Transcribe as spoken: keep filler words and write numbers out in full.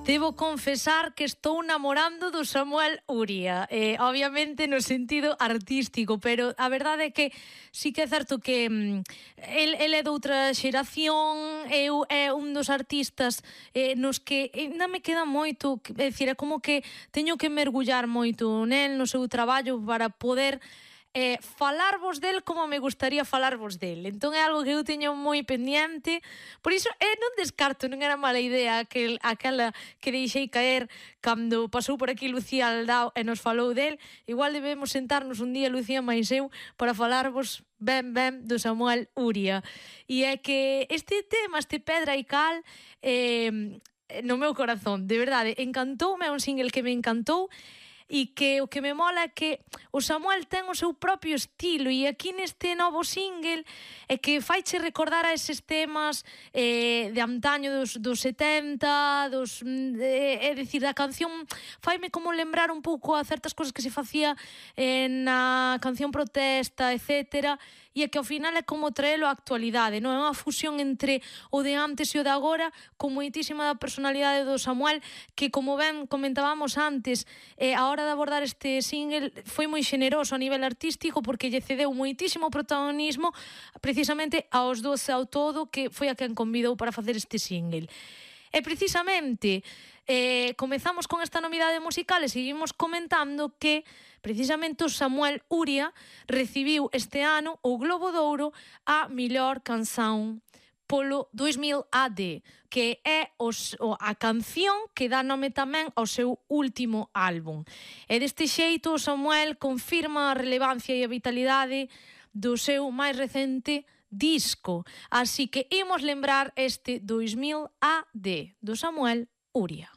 Debo confesar que estou namorando do Samuel Uria, eh, obviamente no sentido artístico, pero a verdade é que sí que é certo que mm, el, el é doutra xeración, eu é un dos artistas eh, nos que ainda me queda moito, é dicir, é como que teño que mergullar moito nel, no seu traballo para poder eh, falarvos del como me gustaría falarvos del. Entón é algo que eu teño moi pendiente, por iso eh, non descarto, non era mala idea aquel, aquela que deixei caer cando pasou por aquí Lucía Aldao e nos falou del. Igual debemos sentarnos un día, Lucía máis eu, para falarvos ben ben do Samuel Uria. E é que este tema, este Pedra e Cal, eh, no meu corazón, de verdade, encantoume, é un single que me encantou, e que o que me mola é que o Samuel ten o seu propio estilo, e aquí neste novo single é que faiche recordar a eses temas eh, de antaño dos, dos setenta, dos, eh, é dicir, a canción faime como lembrar un pouco a certas cosas que se facía eh, na canción protesta, etcétera, e é que ao final é como traelo á actualidade, non é unha fusión entre o de antes e o de agora, con moitísima da personalidade do Samuel, que como ben comentábamos antes, eh, a hora de abordar este single foi moi xeneroso a nivel artístico, porque lle cedeu moitísimo protagonismo precisamente aos dos ao todo, que foi a quen convidou para facer este single. E precisamente eh, comezamos con esta novidade musical e seguimos comentando que precisamente o Samuel Uria recibiu este ano o Globo de Ouro a mellor canción polo dos mil A D, que é os, o, a canción que dá nome tamén ao seu último álbum. E deste xeito o Samuel confirma a relevancia e a vitalidade do seu máis recente disco. Así que imos lembrar este dos mil A D do Samuel Uria.